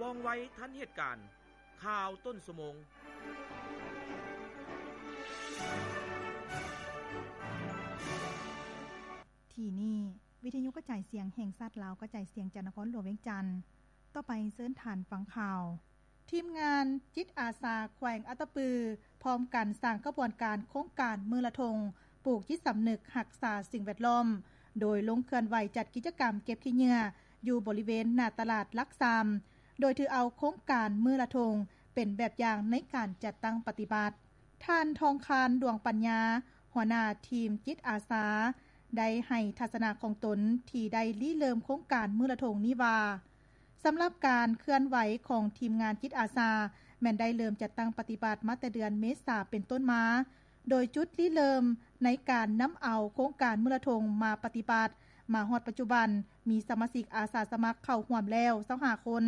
ວ່ອງໄວທັນເຫດການ. ຂ່າວຕົ້ນຊົ່ວໂມງ. ທີ່ນີ້ ວິທະຍຸກະຈາຍສຽງແຫ່ງຊາດລາວ ກະຈາຍສຽງຈາກນະຄອນຫຼວງວຽງຈັນ. ຕໍ່ໄປເຊີນທ່ານຟັງຂ່າວ. ທີມງານຈິດອາສາແຂວງອັດຕະປື ພ້ອມກັນສ້າງຂະບວນການໂຄງການມື້ລະທົງ ປູກຈິດສຳນຶກຮັກສາສິ່ງແວດລ້ອມ ໂດຍລົງເຄື່ອນໄຫວຈັດກິດຈະກຳເກັບຂີ້ເຫຍື້ອ ຢູ່ບໍລິເວນໜ້າຕະຫຼາດຫຼັກສາມ ໂດຍຖືເອົາໂຄງການມື້ລະທົງ ເປັນແບບຢ່າງໃນການຈັດຕັ້ງປະຕິບັດ. ທ່ານ ທອງຄານ ດວງປັນຍາ ຫົວໜ້າທີມຈິດອາສາ ໄດ້ໃຫ້ທັດສະນະຂອງຕົນທີ່ໄດ້ລິເລີ່ມໂຄງການມື້ລະທົງນີ້ວ່າ, ສຳລັບການເຄື່ອນໄຫວຂອງທີມງານຈິດອາສາ ແມ່ນໄດ້ເລີ່ມຈັດຕັ້ງປະຕິບັດມາແຕ່ເດືອນເມສາເປັນຕົ້ນມາ, ໂດຍຈຸດລິເລີ່ມໃນການນຳເອົາໂຄງການມື້ລະທົງມາປະຕິບັດ ມາຮອດປັດຈຸບັນ ມີສະມາຊິກອາສາສະໝັກເຂົ້າຮ່ວມແລ້ວຊາວຫ້າຄົນ.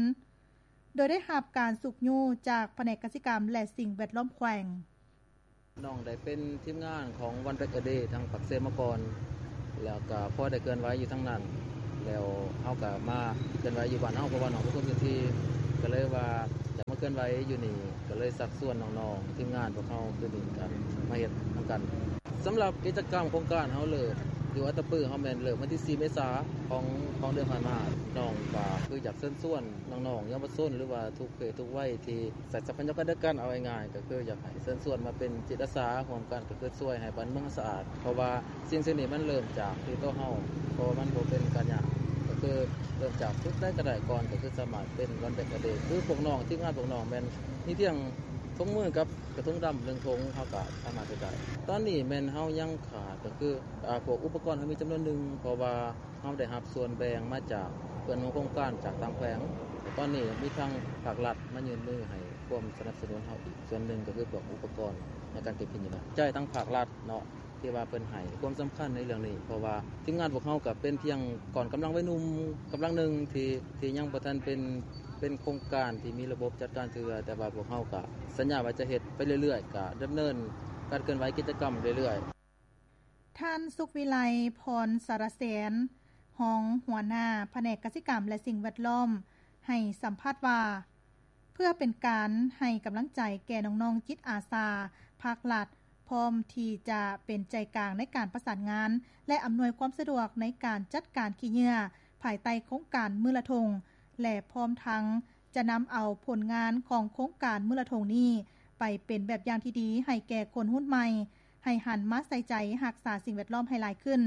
ໂດຍໄດ້ຮັບການຊຸກຍູ້ຈາກພະແນກກະສິກຳ ແລະ ສິ່ງແວດລ້ອມແຂວງ. ນ້ອງໄດ້ເປັນທີມງານຂອງ One Bag a Day ທາງປາກເຊມາກ່ອນ ແລ້ວກະພໍໄດ້ເຄື່ອນໄຫວຢູ່ທາງນັ້ນ ແລ້ວເຮົາກະມາເຄື່ອນໄຫວຢູ່ບ້ານເຮົາ ເພາະວ່ານ້ອງເປັນຄົນພື້ນທີ່ ກະເລີຍວ່າຢາກມາເຄື່ອນໄຫວຢູ່ນີ້ ກະເລີຍຊັກຊວນນ້ອງໆ ທີມງານພວກເຮົາຄືນີ້ກະມາເຮັດນຳກັນ. ສຳລັບກິດຈະກຳໂຄງການເຮົາເລີ່ມຢູ່ອັດຕະປື ເຮົາແມ່ນເລີ່ມວັນທີສີ່ເມສາຂອງ ຂອງເດືອນຜ່ານມາ. ນ້ອງກະຄືຢາກເຊີນຊວນນ້ອງໆເຍົາວະຊົນ ຫຼືວ່າທຸກເພດທຸກໄວທີ່ໃຊ້ຊັບພະຍາກອນດຽວກັນ ເອົາງ່າຍໆ ກະຄືຢາກໃຫ້ເຊີນຊວນມາເປັນຈິດອາສາຮ່ວມກັນ ກະຄືຊ່ວຍໃຫ້ບ້ານເມືອງສະອາດ ເພາະວ່າສິ່ງເຫຼົ່ານີ້ມັນເລີ່ມຈາກທີ່ຕົວເຮົາ ເພາະວ່າມັນບໍ່ເປັນການຍາກ ກະຄືເລີ່ມຈາກຈຸດໃດກະໄດ້ກ່ອນ ກະຄືສາມາດເປັນ One Bag a Day ຄືພວກນ້ອງ ທີມງານພວກນ້ອງແມ່ນມີພຽງຖົງມືກັບ ກະທົງດຳໜຶ່ງຖົງ ເຮົາກະສາມາດເຮັດໄດ້. ຕອນນີ້ແມ່ນເຮົາຍັງຂາດກະຄື ອາ ພວກອຸປະກອນເຮົາມີຈຳນວນໜຶ່ງ ເພາະວ່າເຮົາໄດ້ຮັບສ່ວນແບ່ງມາຈາກເພື່ອນຮ່ວມໂຄງການຈາກຕ່າງແຂວງ. ຕອນນີ້ມີທາງພາກລັດມາຍື່ນມືໃຫ້ຄວາມສະໜັບສະໜູນເຮົາອີກສ່ວນໜຶ່ງ ກະຄືພວກອຸປະກອນໃນການເກັບຂີ້ເຫຍື້ອ ໃຈທາງພາກລັດເນາະ ທີ່ວ່າເພິ່ນໃຫ້ຄວາມສຳຄັນໃນເລື່ອງນີ້ ເພາະວ່າທີມງານພວກເຮົາກະເປັນພຽງກ້ອນກຳລັງໄວໜຸ່ມກຳລັງໜຶ່ງ ທີ່ ທີ່ຍັງບໍ່ທັນເປັນ ເປັນໂຄງການທີ່ມີລະບົບຈັດການເທື່ອ ແຕ່ວ່າພວກເຮົາກະສັນຍາວ່າຈະເຮັດໄປເລື້ອຍໆ ກະດຳເນີນການເຄື່ອນໄຫວກິດຈະກຳເລື້ອຍໆ. ທ່ານ ສຸກວິໄລ ພອນສາລະແສນ ຮອງຫົວໜ້າພະແນກກະສິກຳ ແລະ ສິ່ງແວດລ້ອມ ໃຫ້ສຳພາດວ່າ ເພື່ອເປັນການໃຫ້ກຳລັງໃຈແກ່ນ້ອງໆຈິດອາສາ ພາກລັດພ້ອມທີ່ຈະເປັນໃຈກາງໃນການປະສານງານ ແລະ ອຳນວຍຄວາມສະດວກໃນການຈັດການຂີ້ເຫຍື້ອ ພາຍໃຕ້ໂຄງການມື້ລະທົງ ແລະ ພ້ອມທັງຈະນຳເອົາຜົນງານຂອງໂຄງການມື້ລະທົງນີ້ ໄປເປັນແບບຢ່າງທີ່ດີໃຫ້ແກ່ຄົນຮຸ່ນໃໝ່ ໃຫ້ຫັນມາໃສ່ໃຈຮັກສາສິ່ງແວດລ້ອມໃຫ້ຫຼາຍຂຶ້ນ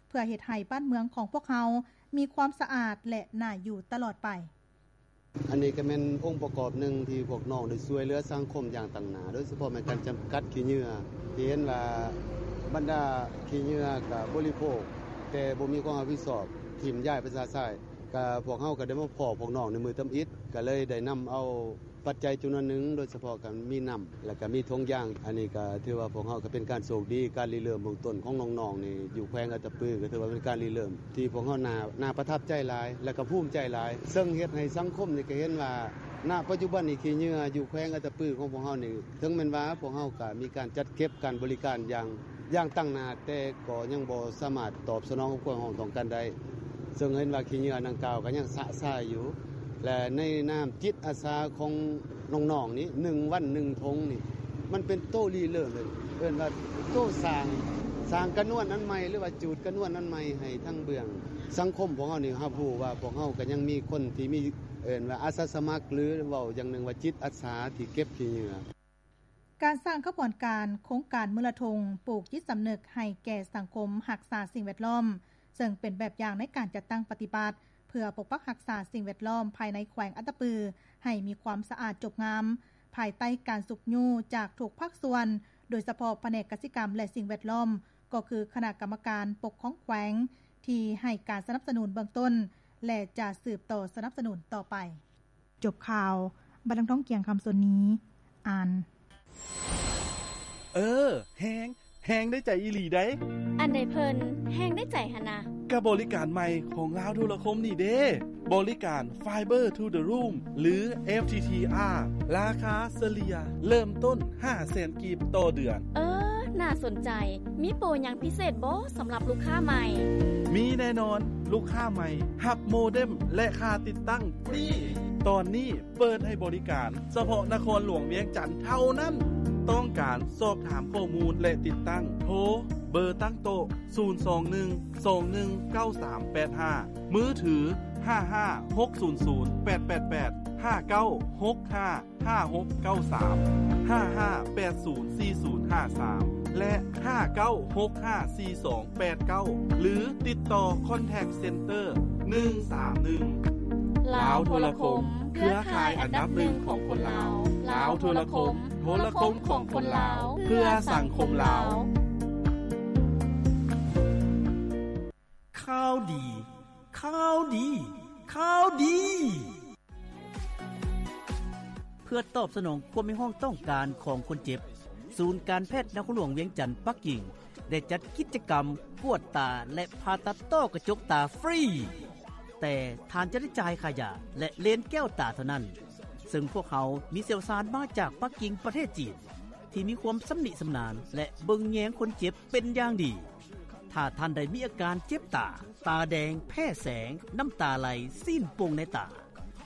ເພື່ອເຮັດໃຫ້ບ້ານເມືອງຂອງພວກເຮົາມີຄວາມສະອາດ ແລະ ໜ້າຢູ່ຕະຫຼອດໄປ. ອັນນີ້ກະແມ່ນອົງປະກອບໜຶ່ງທີ່ພວກນ້ອງໄດ້ຊ່ວຍເຫຼືອສັງຄົມຢ່າງຕັ້ງໜ້າ ໂດຍສະເພາະແມ່ນການຈຳກັດຂີ້ເຫຍື້ອ ທີ່ເຫັນວ່າບັນດາຂີ້ເຫຍື້ອກະບໍລິໂພກ ແຕ່ບໍ່ມີຄວາມຮັບຜິດຊອບ ຖິ້ມຢາຍໄປຊະຊາຍ. ກະພວກເຮົາກະໄດ້ມາພໍ້ພວກນ້ອງໃນມື້ທຳອິດ ກະເລີຍໄດ້ນຳເອົາປັດໄຈຈຳນວນໜຶ່ງ ໂດຍສະເພາະກະມີນ້ຳ ແລະ ກະມີຖົງຢາງ. ອັນນີ້ກະຖືວ່າພວກເຮົາກະເປັນການໂຊກດີ ການລິເລີ່ມເບື້ອງຕົ້ນຂອງນ້ອງໆນີ້ ຢູ່ແຂວງອັດຕະປື ກະຖືວ່າເປັນການລິເລີ່ມ ທີ່ພວກເຮົາໜ້າ ໜ້າປະທັບໃຈຫຼາຍ ແລະ ກະພູມໃຈຫຼາຍ ເຊິ່ງເຮັດໃຫ້ສັງຄົມນີ້ກະເຫັນວ່າ ນະປັດຈຸບັນນີ້ ຂີ້ເຫຍື້ອຢູ່ແຂວງອັດຕະປືຂອງພວກເຮົານີ້ ເຖິງແມ່ນວ່າພວກເຮົາກະມີການຈັດເກັບການບໍລິການຢ່າງ ຢ່າງຕັ້ງໜ້າ ແຕ່ກໍຍັງບໍ່ສາມາດຕອບສະໜອງກັບຄວາມຕ້ອງການໄດ້ ເຊິ່ງເຫັນວ່າຂີ້ເຫຍື້ອດັ່ງກ່າວກະຍັງຊະຊາຍຢູ່ ແລະ ໃນນາມຈິດອາສາຂອງນ້ອງໆນີ້ ໜຶ່ງວັນໜຶ່ງຖົງນີ້ ມັນເປັນໂຕລິເລີ່ມເລີຍ ເອີ້ນວ່າໂຕສ້າງ ສ້າງກະນວນອັນໃໝ່ ຫຼືວ່າຈູດກະນວນອັນໃໝ່ໃຫ້ທາງເບື້ອງສັງຄົມພວກເຮົານີ້ຮັບຮູ້ວ່າ ພວກເຮົາກະຍັງມີຄົນທີ່ມີ ເອີ້ນວ່າອາສາສະໝັກ ຫຼື ເວົ້າຢ່າງໜຶ່ງວ່າຈິດອາສາທີ່ເກັບຂີ້ເຫຍື້ອ. ການສ້າງຂະບວນການໂຄງການມື້ລະທົງ ປູກຈິດສຳນຶກໃຫ້ແກ່ສັງຄົມຮັກສາສິ່ງແວດລ້ອມ ເຊິ່ງເປັນແບບຢ່າງໃນການຈັດຕັ້ງປະຕິບັດ ເພື່ອປົກປັກຮັກສາສິ່ງແວດລ້ອມພາຍໃນແຂວງອັດຕະປື ໃຫ້ມີຄວາມສະອາດຈົບງາມ ພາຍໃຕ້ການຊຸກຍູ້ຈາກທຸກພາກສ່ວນ ໂດຍສະເພາະພະແນກກະສິກຳ ແລະ ສິ່ງແວດລ້ອມ ກໍຄືຄະນະກຳມະການປົກຄອງແຂວງ ທີ່ໃຫ້ການສະໜັບສະໜູນເບື້ອງຕົ້ນ ແລະ ຈະສືບຕໍ່ສະໜັບສະໜູນຕໍ່ໄປ. ຈົບຂ່າວ, ບັດນາງທອງກຽງ ຄຳສົນນີ ອ່ານ. ເອີ ແຮງ ແຮງໄດ້ໃຈອີ່ຫຼີໃດ໋. ອັນໃດເພິ່ນແຮງໄດ້ໃຈຫັ້ນນະ? ກະບໍລິການໃໝ່ຂອງລາວໂທລະຄົມນີ້ເດ້ ບໍລິການ Fiber to the Room ຫຼື FTTR ລາຄາສະເລ່ຍເລີ່ມຕົ້ນຫ້າແສນກີບຕໍ່ເດືອນ. ເອີ ໜ້າສົນໃຈ. ມີໂປຫຍັງພິເສດບໍ່ສຳລັບລູກຄ້າໃໝ່? ມີແນ່ນອນ. ລູກຄ້າໃໝ່ຮັບໂມເດັມ ແລະ ຄ່າຕິດຕັ້ງຟຣີ. ຕອນນີ້ເປີດໃຫ້ບໍລິການສະເພາະນະຄອນຫຼວງວຽງຈັນເທົ່ານັ້ນ. ຕ້ອງການສອບຖາມຂໍ້ມູນ ແລະ ຕິດຕັ້ງ ໂທເບີຕັ້ງໂຕະ ສູນສອງໜຶ່ງ ສອງໜຶ່ງ ເກົ້າສາມແປດຫ້າ, ມືຖື ຫ້າຫ້າຫົກສູນສູນແປດແປດແປດ ຫ້າເກົ້າຫົກຫ້າ ຫ້າຫົກເກົ້າສາມ ຫ້າຫ້າແປດສູນສີ່ສູນຫ້າສາມ ແລະ ຫ້າເກົ້າຫົກຫ້າສີ່ສອງແປດເກົ້າ ຫຼື ຕິດຕໍ່ຄອນແທັກເຊັນເຕີ ໜຶ່ງສາມໜຶ່ງ. ລາວໂທລະຄົມ ເຄືອຂ່າຍອັນດັບໜຶ່ງຂອງຄົນລາວ. ລາວໂທລະຄົມ ໂທລະຄົມຂອງຄົນລາວ ເພື່ອສັງຄົມລາວ. ຂ່າວດີ ຂ່າວດີ ຂ່າວດີ. ເພື່ອຕອບສະໜອງຄວາມຮຽກຮ້ອງຕ້ອງການຂອງຄົນເຈັບ, ສູນການແພດນະຄອນຫຼວງວຽງຈັນ ປັກກິ່ງ ໄດ້ຈັດກິດຈະກຳກວດຕາ ແລະ ຜ່າຕັດຕ້ອກະຈົກຕາຟຣີ, ແຕ່ທ່ານຈະໄດ້ຈ່າຍຄ່າຢາ ແລະ ເລນແກ້ວຕາເທົ່ານັ້ນ, ເຊິ່ງພວກເຮົາມີຊ່ຽວຊານມາຈາກປັກກິ່ງ ປະເທດຈີນ ທີ່ມີຄວາມຊຳນິຊຳນານ ແລະ ເບິ່ງແຍງຄົນເຈັບເປັນຢ່າງດີ. ຖ້າທ່ານໃດມີອາການເຈັບຕາ, ຕາແດງ, ແພ້ແສງ, ນ້ຳຕາໄຫຼ, ຊີ້ນໂປ່ງໃນຕາ,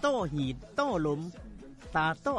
ຕ້ອຫີດ, ຕ້ອລົມ, ຕາຕ້ອ